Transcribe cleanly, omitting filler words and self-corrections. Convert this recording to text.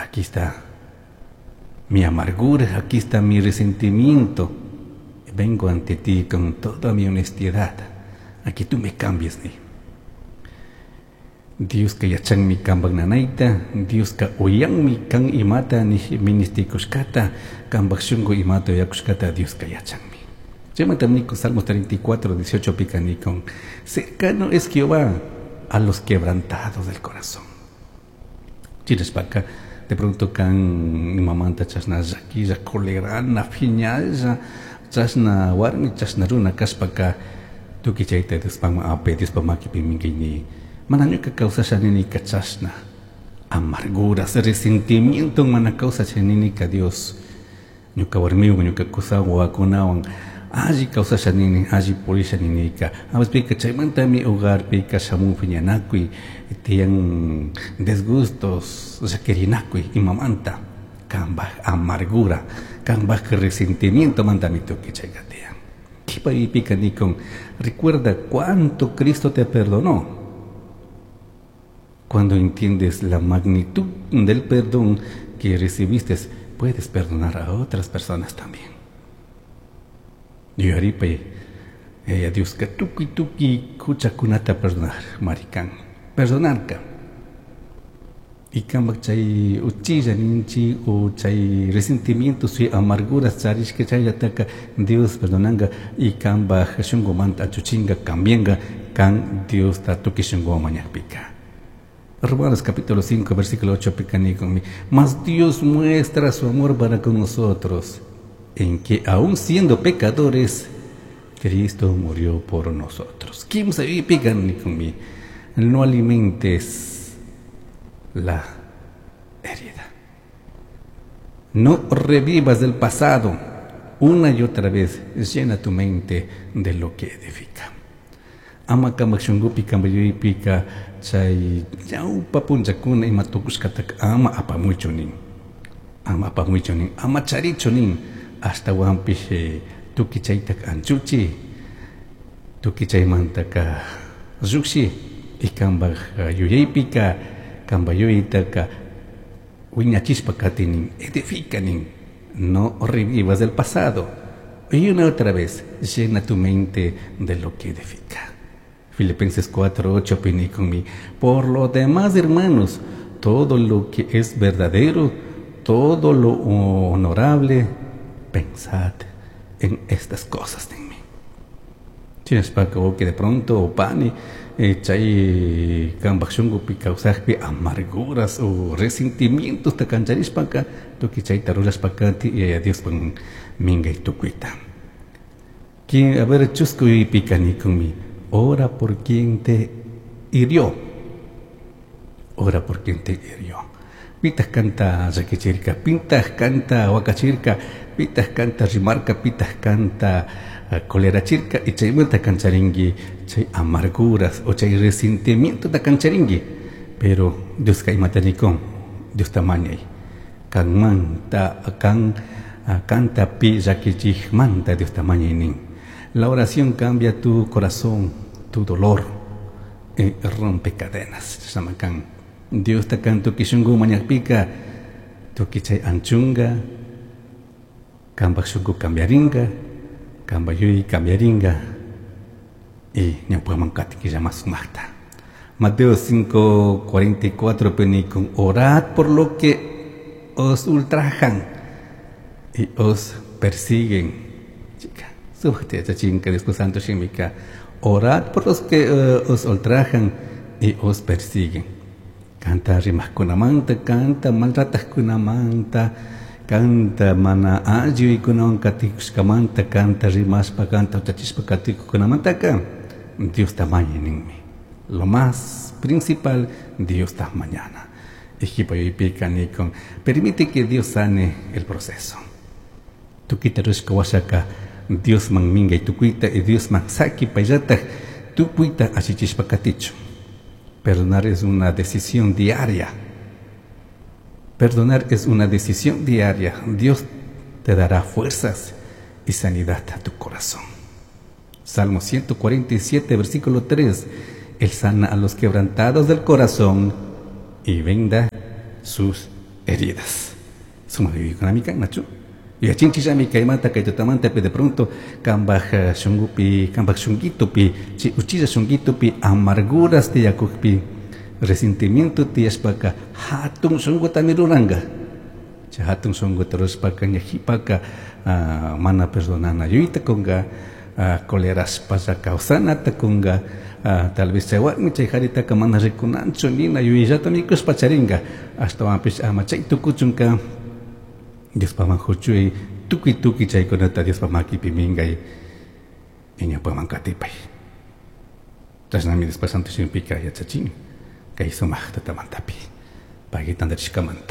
Aquí está mi amargura, aquí está mi resentimiento. Vengo ante ti con toda mi honestidad. Aquí tú me cambies, ni. Dioska yachanmi kanpak nanayta, Dioska uyanmi kan imata ministikushkata, kanpak shunku imata uyakushkata Dioska yachanmi. Chaymanta nikun Salmos 34, 18 pika nikun, cercano es Jehová a los quebrantados del corazón. Chinashpaka, de pronto kan imamanta chashna llaquilla, colerana, phiñalla, chashna warmi, chashna runa kashpaka, tukuy chayta Diospakman apay, Diospak makipi minkayni. Mana ñuka kawsasha ninika chashna amarguras, resentimiento mana kawsasha ninika Dios. Ñuka warmiwan, ñuka kusawan, wawakunawan alli kawsasha nini, alli purisha ninika. A chaymantami hogarpika shamun phiñanakuy, tiyan desgustos, llaquirinakuy imamanta. Kanpak amargura, kanpak resentimiento mantami tukuy chayka tiyan. Qhipaypika nikun, recuerda cuánto Cristo te perdonó. Cuando entiendes la magnitud del perdón que recibiste, puedes perdonar a otras personas también. Yuyaripay, Dioska tukuy tukuy huchakunata perdonar, marikan, perdonarka. Y kanpak chay uchilla ninchi o chay resentimientos y amarguras charishka chayllataka Dios perdonanga y kanpak shunkumanta anchuchinga cambianga kan Diosta tukuy shunkuwan mañakpika. Romanos capítulo 5, versículo 8, picanikun, mas Dios muestra su amor para con nosotros, en que aun siendo pecadores, Cristo murió por nosotros. Kimsa picanikun, no alimentes la herida. No revivas del pasado. Una y otra vez llena tu mente de lo que edifica. Ama kanpak shunkupi kanpak yuyaypika chay ñawpa punllakuna ima tukushkataka ama apamuychu nin, ama apamuychu nin, ama charichu nin, ashtawanpish tukuy chaytaka anchuchi, tukuy chaymantaka llukshi y kanpak yuyaypika kanpak yuyaytaka wiñachishpa kati nin, edifica nin, no revivas del pasado. Y una otra vez llena tu mente de lo que edifica. Filipenses 4, 8, mi. Por lo demás, hermanos, todo lo que es verdadero, todo lo honorable, pensad en estas cosas de mí. Chinashpaka que de pronto pani chay kanpak shunkupi kawsakpi amarguras o resentimientos ta kancharishpaka tukuy chayta rurashpaka Yaya Diospak minkay tukuyta. A ver, chusku yuyaypika nikunmi, ora por quien te hirió. Ora por quien te hirió. Pitaj kanta llakichirka, pitaj kanta wakachirka, pitaj kanta rimarka, pitaj kanta colerachirka y chaymanta kancharinki chay amarguras o chay resentimiento ta kancharinki. Pero Dioska imata nikun, Diosta mañay. Kanmanta kan kanta pi llakichikmanta Diosta mañay nin. La oración cambia tu corazón, tu dolor, y rompe cadenas. Chashnaman Diosta kan tukuy shunku mañakpika, tukuy chay anchunga, kanpak shunku cambiaringa, kanpak yuyay cambiaringa, y ñawpaman katinki sumakta. Mateo 5, 44, penikun, orad por lo que os ultrajan y os persiguen. Chica, súbete a chinka, Dios Santo shimika. Orad por los que os ultrajan y os persiguen. Kanta rimajkunamanta, kanta maltratajkunamanta, kanta mana alli yuyaykunawan katikushkamanta, kanta rimashpa, kanta huchachishpa katikukunamantaka, Diosta mañay ninmi. Lo más principal, Diosta mañana. Ejipa yuyaypika nikun, permite que Dios sane el proceso. Tukuyta rurashka washaka, Diosman minkay tukuyta y Diosman saki payllataj tukuyta allichishpa katichun. Perdonar es una decisión diaria. Perdonar es una decisión diaria. Dios te dará fuerzas y sanidad a tu corazón. Salmo 147, versículo 3. Él sana a los quebrantados del corazón y venda sus heridas. Sumaj yuyaykunami kan, nachu? Yuyachinchillami kaymanta kay tutamantapi de pronto kambaj shungupi, kambaj shunguitupi, chay uchilla shunguitupi amarguras tiyakukpi, resentimiento tiyashpaka hatun shungutami ruranka. Chay hatun shunguta rurashpaka ña jipaka mana perdonana yuyta kunka, colerashpalla kawsanata kunka, tal vez chay warmi chay jaritaka mana rikunanchu nina yuyayllata mikushpa charinka, ashtawanpish ama chay tukuchunka Diospaman huchuy tukuy tukuy chaykunata Diospa makipi minkay ñawpaman katipay. Chashnami Diospa Santo Shimipika yachachin kay sumaq tutamantapi payki tantarishkamanta.